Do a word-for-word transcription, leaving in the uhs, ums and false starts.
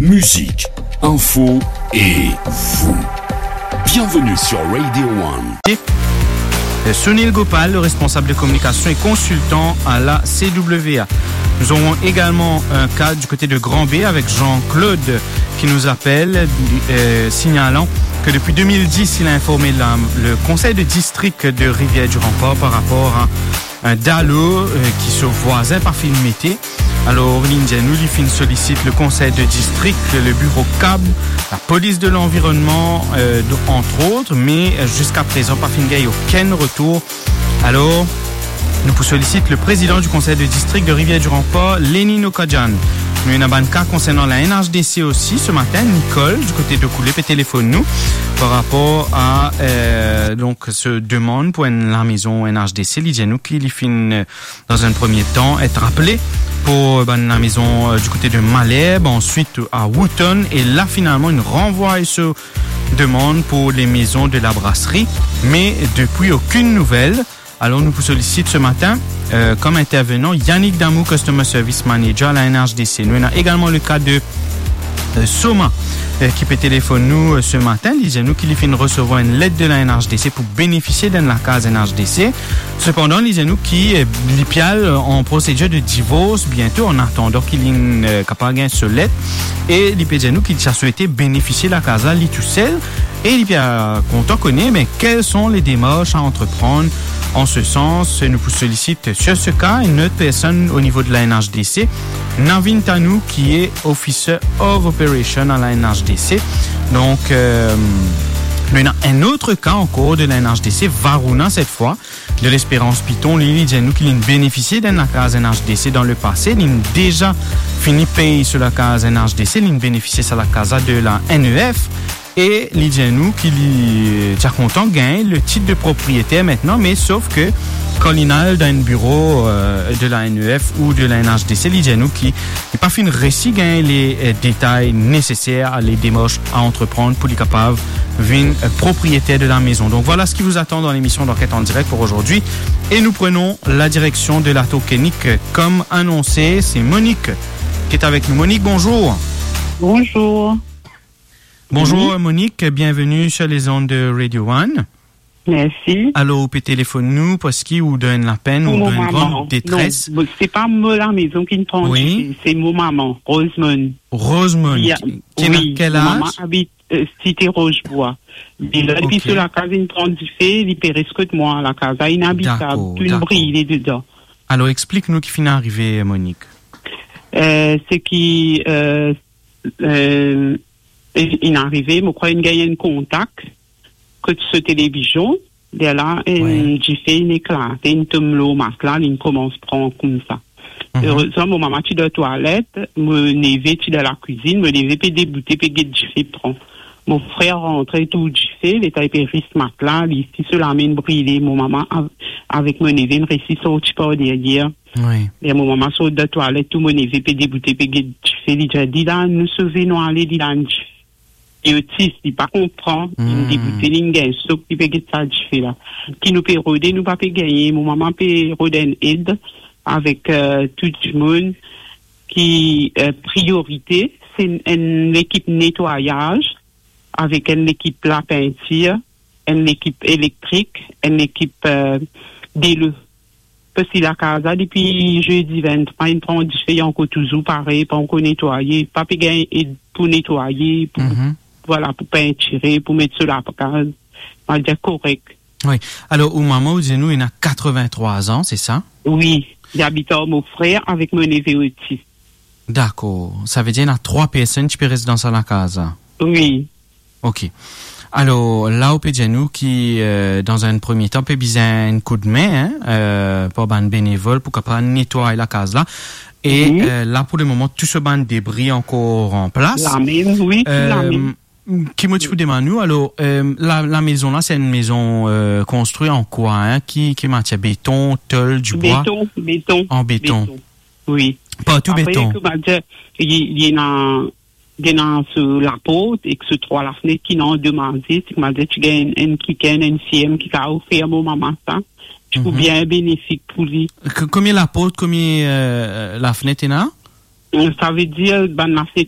Musique, info et vous. Bienvenue sur Radio One. Euh, Sunil Gopal, le responsable de communication et consultant à la C W A. Nous aurons également un cas du côté de Grand Baie avec Jean-Claude qui nous appelle, euh, signalant que depuis deux mille dix, il a informé la, le conseil de district de Rivière-du-Rempart par rapport à un dalo, euh, ki so vwazin pa finn mete. Alor, li dir nou, li finn solisit le conseil de district, le bureau cab, la police de l'environnement, euh, de, entre autres, mais, euh, jusqu'à présent, pa finn gagn okenn retour. Alor, nou pou solisit le président du conseil de district de Rivière-du-Rempart, Lenny Nokadjan. Nou ena bann ka konsernan la N H D C osi. Ce matin, Nicole, du côté de Koulé, pe telefonn nou par rapport à, euh, donc, se demann pou enn lamezon N H D C. Li dir nou ki li finn, euh, dans un premier temps, être appelé pour, euh, bann lamezon, euh, du côté de Malherbe, ensuite à Wootton, et là, finalement, il renvoie ce demande pour les maisons de la brasserie, mais depuis, aucune nouvelle. Alors, nous vous sollicite ce matin, euh, comme intervenant, Yannick Damou, Customer Service Manager à la N H D C. Nou ena également le cas de euh, Soma, euh, ki pe telefonn nou, euh, ce matin, li dir nou ki li finn resevwar enn let de la N H D C pou benefisie d'enn lakaz N H D C. Sepandan, li dir nou ki, euh, li pe al, euh, an prosedir de divors biento, an atandan ki li, euh, kapav gagn so let. E li pe dir nou ki li ti a swete benefisie lakaz la, li tousel. E li pe, euh, kontan kone, me, quelles sont les démarches à entreprendre en ce sens. Nou pou solisit sur ce cas une autre personne au niveau de la N H D C, Navin Tanou, qui est Officer of Operation à la N H D C. Donc, euh, nou ena un autre cas encore de la N H D C, Varouna cette fois, de l'Espérance Piton. Li, li dir nou ki li'nn benefisie d'enn lakaz N H D C dans le passé. Li'nn deza fini pey so lakaz N H D C, li'nn benefisie sa lakaz la de la N E F. E li dir nou ki li ti a kontan gagn le tit de propriyeter aster, me sof ke kan li'nn al dan enn biro, euh, de la N E F ou de la N H D C, li dir nou ki li pa finn resi gagn le, euh, detay neseser, le demars a antreprann pou li kapav vinn, euh, propriyeter de la maison. Donc voilà ce qui vous attend dans l'émission d'Enquête en direct pour aujourd'hui. Et nous prenons la direction de la Tour Kennick, euh, comme annoncé. C'est Monique qui est avec nous. Monique, bonjour. Bonjour. Bonjour, oui. Monique, bienvenue sur les ondes de Radio One. Mersi. Alor, ou pe telefonn nou parski ou dan enn lapenn, ou dan enn gran detres. Pou mo mama. Non, se pa mo lamezon ki'nn pran dife, se mo mama, Rosemond. Rosemond, ki, ki ena kel az? Mo mama abit, euh, Site Roche Bois. Me la, depi so lakaz inn pran dife, li pe res kot mwa, lakaz la inabitab, tou inn brile dedan. Alor, explik nou ki finn arive, Monique. Euh, se ki, euh, euh, inn arive, mo krwar inn gagn enn kontak kot so televizion, lerla enn dife inn eklate, inn tom lor matla, li'nn koumans pran koumsa. Erezman, mo mama ti dan twalet, mo neve ti dan lakwizinn, mo neve pe deboute, pe get dife pran. Mo frer rantre, tour dife, letan li pe ris matla, li si so lame inn brile, mo mama av-, avek mo neve inn resi sorti par deryer. Wi. E mo mama sort dan twalet, tou mo neve pe deboute, pe get dife, li dir, "Li la, nou sove, nou ale, li la, enn dife." Li otis, li pa konpran, li'nn deboute, li'nn gagn sok, li pe get sa dife la. Ki nou pe rode, nou pa pe gagne. Mo mama pe rod enn ed avek, euh, tou dimoun ki, euh, priyorite, se enn lekip netwayaz, avek enn lekip lapintir, enn lekip elektrik, enn lekip, euh, delo. Parski lakaz la, depi zedi venntrwa, inn pran dife, ankor touzour parey, pa ankor netwaye, pa pe gagn ed pou netwaye, pou, vwala, pou pintire, pou met so lakaz, mo dir korek. Wi. Alor, ou mama, ou dir nou, ena katreventrwa an, se sa? Wi, li abit ar mo frer avek mo neve otis. Dakor. Savedir ena trwa personn ki pe res dan sa lakaz la? Wi. Ok. Alor, la ou pe dir nou ki, euh, dan enn premie tan, pe bizin enn koudme, hein, euh, par bann benevol pou kapav netway lakaz la. E, euh, la, pou lemoman, tou so bann debri ankor an plas. Lamem, wi, tou lamem. Euh, ki mo ti pou demann ou, alor, euh, la, lamezon la, se enn mezon, euh, konstri an kwa, hein? Ki, ki matier? Beton, tol, dibwa? Beton, beton. An beton. Beton. Wi. Partou beton. Apre, ki mo dir, li, li ena, li ena so laport ek so trwa lafnet ki ena andomaze, ki mo dir ti gagn enn kikenn, enn firm ki kapav fer mo mama sa. Ti pou bien benefik pou li. K-, konbien laport, konbien, euh, lafnet ena? Savedir, bann lafnet